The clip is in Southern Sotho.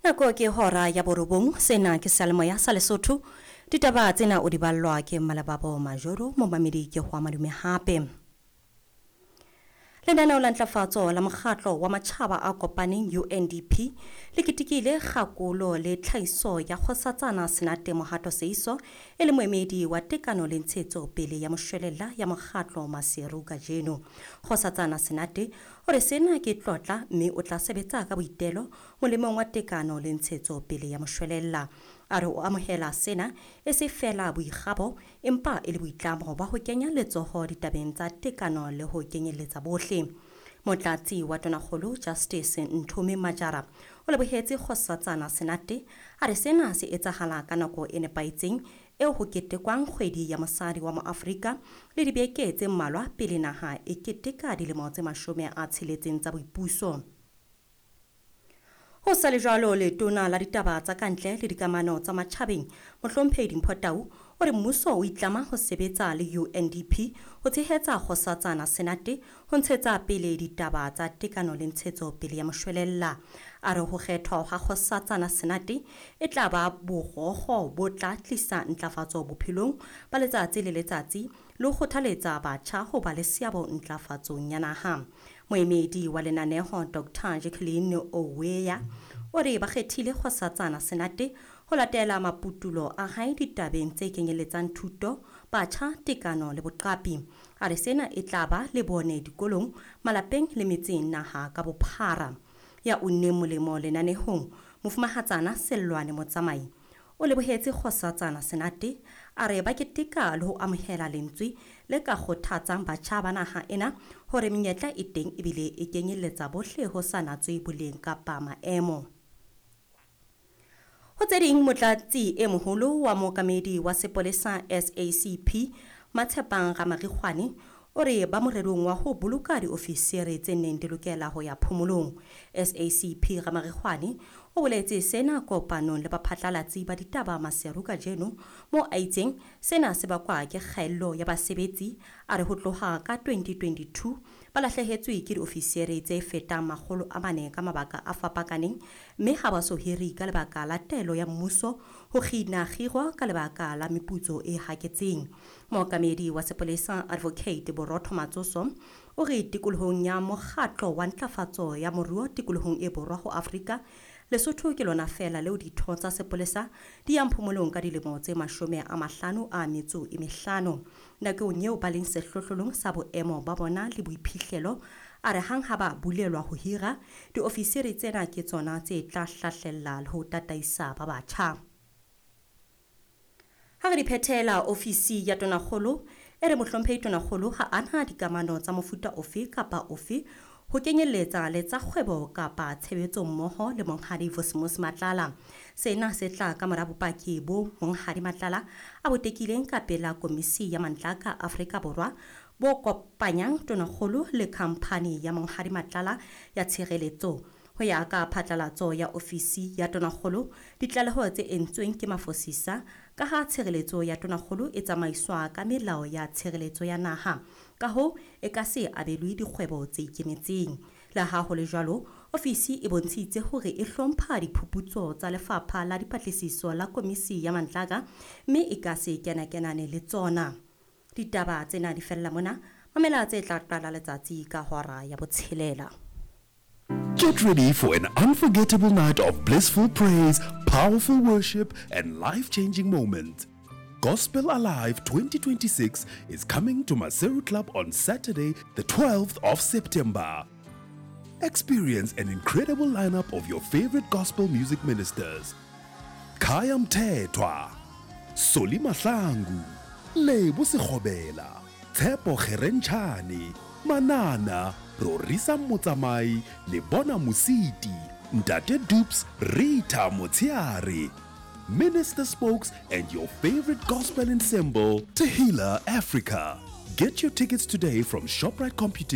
Nako ke hora ya borobong, sena ke seyalemoya sa Lesotho. Ditaba tsena o di ballwa ke Mmalebabo Majoro, momamedi ke ho madume hape. Lenaneo la ntlafatso la mokgatlo wa matjhaba a kopaneng UNDP le ketekile kgakolo le tlhahiso ya Kgosatsana Senate Mohato Seiso e le moemedi wa tekano le ntshetso pele ya moshwelella ya mokgatlo Maseru kajeno. Kgosatsana Senate o re sena ke tlotla mme o tla sebetsa ka boitelo molemong wa tekano le ntshetso pele ya moshwelella. A re o amohela sena e se feela boikgabo empa e le boitlamo ba ho kenya letsoho ditabeng tsa tekano le ho kenyelletsa bohle. Motlatsi wa Tonakgolo Justice Nthome Majara o lebohetse Kgosatsana Senate a re sena se etsahala ka nako e nepahetseng eo ho ketekwang kgwedi ya mosadi wa Moafrika le dibeke tse mmalwa pele naha e keteka dilemo tse 60 tsa boipuso. Ho sa le jwalo, letona la ditaba tsa kantle le dikamano tsa matjhabeng, Mohlomphehi Dimpho Tau, o re mmuso o itlama ho sebetsa le UNDP ho tshehetsa Kgosatsana Senate ho ntshetsa pele ditaba tsa tekano le ntshetso pele ya moshwelella. A re ho kgethwa ha Kgosatsana Senate e tla ba borokgo bo tla tlisa ntlafatso bophelong ba letsatsi le letsatsi le ho kgothaletsa batjha ho ba le seabo ntlafatsong ya naha. Moemedi wa lenaneho Dr. Jacqueline Oweya o re ba kgethile Kgosatsana Senate ho latela maputulo a hae ditabeng tse kenyeletsang thuto, batjha, tekano le boqapi. A re sena e tla ba le bone dikolong, malapeng le metseng naha ka bophara. Ya unneng molemo lenanehong, Mofumahatsana Sellwane Motsamai o lebohetse Kgosatsana Senate a re ba keteka le ho amohela lentswe le ka kgothatsang batjha ba naha ena hore menyetla e teng ebile e kenyelletsa bohle ho sa natswe boleng kapa maemo. Ho tse ding, motlatsi e moholo wa mookamedi wa sepolesa SACP Matshepang Ramarikgwane o re ba morerong wa ho boloka diofisiri tse neng di lokela ho ya phomolong. SACP Ramarikgwane o boletse sena kopanong le baphatlalatsi ba ditaba Maseru kajeno mo a itseng sena se bakwa ke kgaello ya basebetsi. A re ho tloha ka 2022 ba lahlehetswe ke diofisiri tse fetang 400 ka mabaka a fapakaneng mme ha ba so hiri ka lebaka la taelo ya mmuso ho kgina kgiro ka lebaka la meputso e haketseng. Mookamedi wa sepolesa Advocate Borotho Matsoso o re tikolohong ya mokgatlo wa ntlafatso ya moruo tikolohong e borwa ho Afrika, Lesotho ke lona feela leo ditho tsa sepolesa di yang phomolong ka dilemo tse 55 nakong eo ba leng sehlohlolong sa boemo ba bona le boiphihlelo. A re hang ha ba bulelwa ho hira, diofisiri tsena ke tsona tse tla hlahlella le ho tataisa ba batjha. Ha re di phethela, ofisi ya Tonakgolo e re mohlomphehi Tonakgolo ha ana dikamano tsa mofuta ofe kapa ofe ho kenyelletsa le tsa kgwebo kapa tshebetso mmoho le Monghadi Vusimuzi Matlala. Sena se tla ka mora bopaki bo Monghadi Matlala a bo tekileng ka pela Komisi ya Mantlaka Afrika Borwa bo kopanyang Tonakgolo le khamphani ya Monghadi Matlala ya tshireletso. Ho ya ka phatlalatso ya ofisi ya Tonakgolo, ditlaleho tse entsweng ke mafosisa ka ha tshireletso ya Tonakgolo e tsamaiswa ka melao ya tshireletso ya naha. Ka hoo, e ka se abelwe dikgwebo tse ikemetseng. Le ha ho le jwalo, ofisi e bontshitse hore e hlompha diphuputso tsa lefapha la dipatlisiso la Komisi ya Mantlaka mme e ka se kenakenane le tsona. Ditaba tsena di fella mona, mamela tse tla qala letsatsi ka hora ya botshelela. Get ready for an unforgettable night of blissful praise, powerful worship, and life-changing moments. Gospel Alive 2026 is coming to Maseru Club on Saturday, the 12th of September. Experience an incredible lineup of your favorite gospel music ministers. Khaya Mthethwa, Solly Mahlangu, Lebo Sekgobela, Tshepo Kgerentshane, Manana, Rorisang Motsamai, Lebona Mositi, Ntate Dupes, Rita Motsiare, Minister Spokes, and your favorite gospel ensemble, Tehila Africa. Get your tickets today from ShopRite Computing.